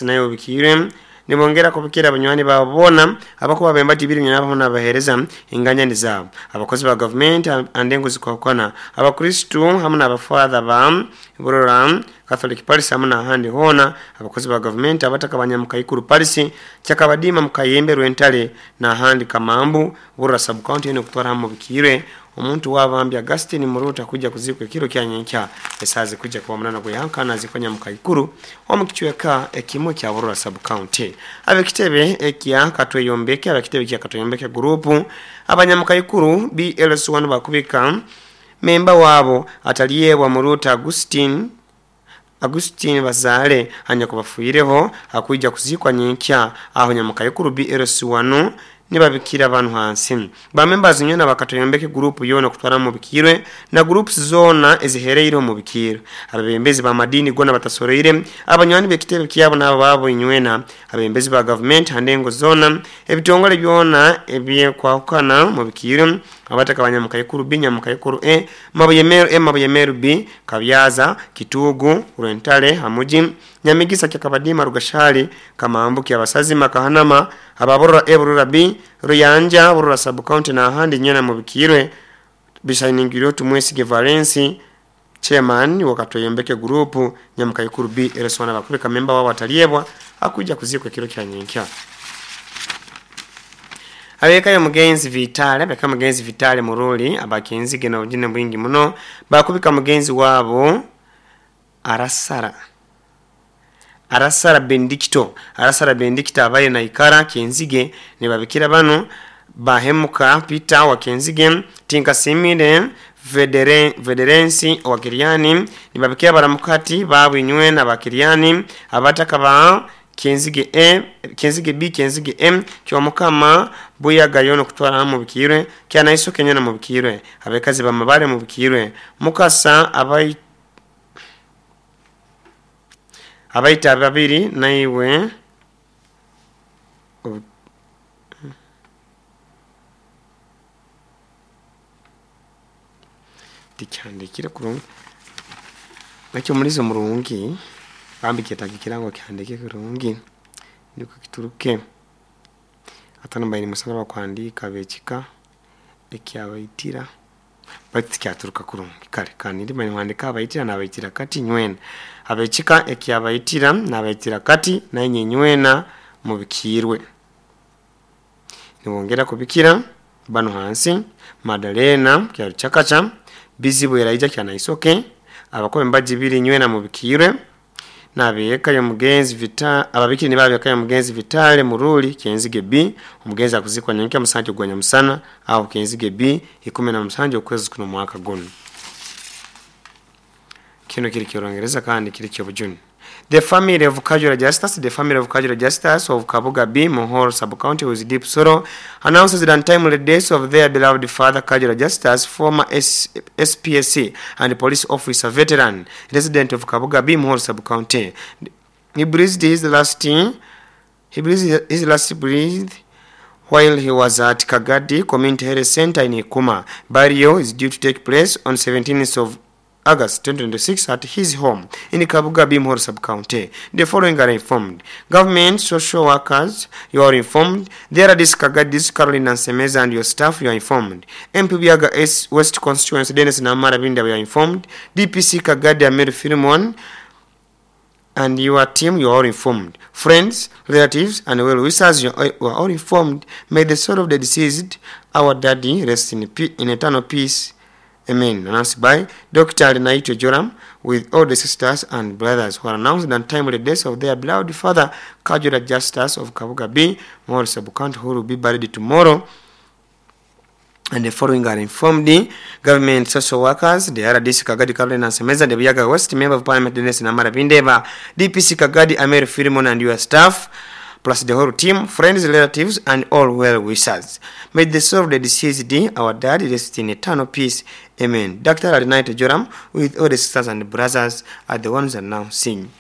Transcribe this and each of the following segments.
Naye obikiirwe nibongera kubikira abanywani baabo boona abakuba bemba tibiri nabo hamu n'abaheereza enganyani zaabo, abakozi ba gavumenti andengo zikwahukana, abakristu hamu n'abafaatha ba Burora Catholic Parish hamu n'ahandi hoona, abakozi ba gavumenti, abataka ba Nyamukaikuru Parish, Kyakabadiima Mukayembe Rwentare n'ahandi Kamambu, Burora Sub-County yoona okutwara hamu obikiirwe. Omuntu waaba mbi Augustine Muruuta kwija kuziikwa ekiro kya nyenkya esaaha zirikwija kuba munana gw'ehankana aziikwe Nyamukaikuru omu kicweka ekimwe kya Burora Sub County. Ab'ekitebe ekya Katweyombeke Ab'ekitebe kya Katweyombeke Group Abanyamukaikuru BLC1 bakubika memba waabo atalyebwa Muruuta Augustine Augustine Bazaale anyakubafiireho akwija kuziikwa nyenkya aho Nyamukaikuru BLC1 nibabikira banu hansi. Ba members nywena ba Katoyombeke group yoona okutwaramu Mubikiirwe na groups zoona ezihereireho Mubikiirwe. Abebembezi ba madiini goona batasoroire, abanywani bekitebe kyabo naabo baabo inywena, abebembezi ba gavumenti ha ndengo zoona, ebitongole byoona ebyekwahukana Mubikiirwe, abataka ba Nyamukaikuru B, Nyamukaikuru A, Mabuye Meru A, Mabuye Meru B, Kabyaza, Kituugu, Rwentare, Hamugi, Nyamigisa, Kyakabadiima, Rugashari, Kamambu, Kyabasazima, Kahanama, aba Burora A, Burora B, Ruyanja, Burora Sub-County n'ahandi nywena mubikiirwe bisayiningirweho Tumwesige Valensi, Chairman wa Katweyombeke Group, Nyamukaikuru B, Ereswana Bakubika memba waabo atalyebwa akwija kuziikwa ekiro kya nyenkya. Ab'eka y'omugenzi Vitale Ab'eka y'omugenzi Vitale Muruli aba Kyenzige n'obujune bwingi muno baakubika mugenzi waabo Arasara Arasara Bendikito Arasara Bendikito abaire naikara Kyenzige nibabikira bano Bahemuka Peter owa Kyenzige, Tinkasiimire Vedere Vederensi owa Kiriani nibabikira baramukati baabo inywena aba Kiriani, abataka ba Kyenzige A, Kyenzige B, Kyenzige M, Kyomukama, Buyaga yoona okutwara hamu Mubikiirwe, Kyanaisoke nyoona Mubikiirwe, Abekazi ba Mabare Mubikiirwe, Mukasa, Abai Abaita ababiri naiwe obi. Tikihandikire kurungi. Ekyo omulizo murungi bambi kyetaaga ekirango kihandike kurungi nikwo kituruke. Hati hanu mbaire nimusaba abakuhandiika ab'ekika ekyabaitira baitu tikyaturuka kurungi. Kare kandi mbaire nimuhandiika abaitira nabaitira kati nywena. Ab'ekika ekyabaitira nabaitira kati nainye nywena mubikiirwe. Nibongera kubikira banu hansi, Madalena Kyarukyakaca, Bizibu Elijah Kyanaisoke, abakobe embaji ibiri nywena mubikiirwe, n'ab'eka y'omugenzi Vita, ababikire nibo ab'eka y'omugenzi Vitale Muruli Kyenzige B, omugenzi akuzikwa nyenkya musanju ogwa nyamusana aho Kyenzige B, 17 okwezi kuno omwaka gunu. Kinu kiri ky'Orungereza kandi kiri ky'obujune. The family of Kajura Justus The family of Kajura Justus of Kabuga B, Muhoro Sub-County with deep sorrow announces the untimely death of their beloved father Kajura Justus, former S SPSC and police officer veteran, resident of Kabuga B, Muhoro Sub-County. He breathed his last He breathed his last breath while he was at Kagadi Community Health Centre in Ikuma. Burial is due to take place on 17th of August 2026 at his home in Kabuga B Muhoro Sub-County. The following are informed. Government social workers, you are informed. The RDC Kagadi Caroline Nsemeza and your staff, you are informed. MP Buyaga S West Constituency Dennis Namara Binda, you are informed. DPC Kagadi Amir Philemon and your team, you are all informed. Friends, relatives, and well wishers, you are all informed. May the soul of the deceased, our daddy, rest in, in eternal peace. Amen. Announced by Dr. Arinaitwe Joram with all the sisters and brothers who are announced the untimely death of their beloved father, Kajura Justus of Kabuga B, Morris Sub-County, who will be buried tomorrow. And the following are informed: government social workers, the RDC Kagadi Caroline Nsemeza, the Buyaga West Member of Parliament Dennis Namara Bindeba, DPC Kagadi Amir Philemon and your staff, plus the whole team, friends, relatives, and all well wishers. May the soul of the deceased, our dad, rest in eternal peace. Amen. Dr. Arinaitwe Joram with all the sisters and brothers are the ones announcing.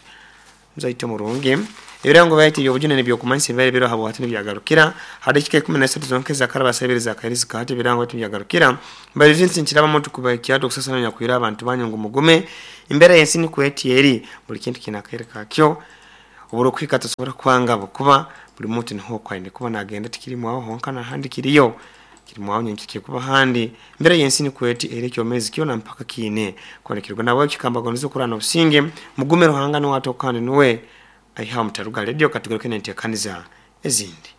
Muzaito murungi. Ebirango byaitu eby'obujune n'eby'okumanyisa ebibaire biriho habwahati nibyagarukira ha dakiika 13 zonka ezakaraba sabiri zakairizi hati ebirango byaitu nibyagarukira. Mbaire Vince Nkirabamu tukubahikya hati okusasana nyakwire abantu banyu ngu mugume. Embeera y'ensi nikwo eti eri, buli kintu kiine akaire kakyo. Oburikuhika tosobora kwanga ahabw'okuba buri muntu niho oku aine kuba naagenda tikiri mwawe honka n'ahandi kiriyo. Kiri mwawe nyenkya kirikuba ahandi. Embeera y'ensi nikwo eti era ekyomeezi kyona mpaka kiine kwonekirwa. Nahabwekyo kambagondeze okuraana obusinge, mugume Ruhanga niwe atoka kandi niwe aihaho mutaruga aha rediyo katugaruke n'enteekaniza ezindi.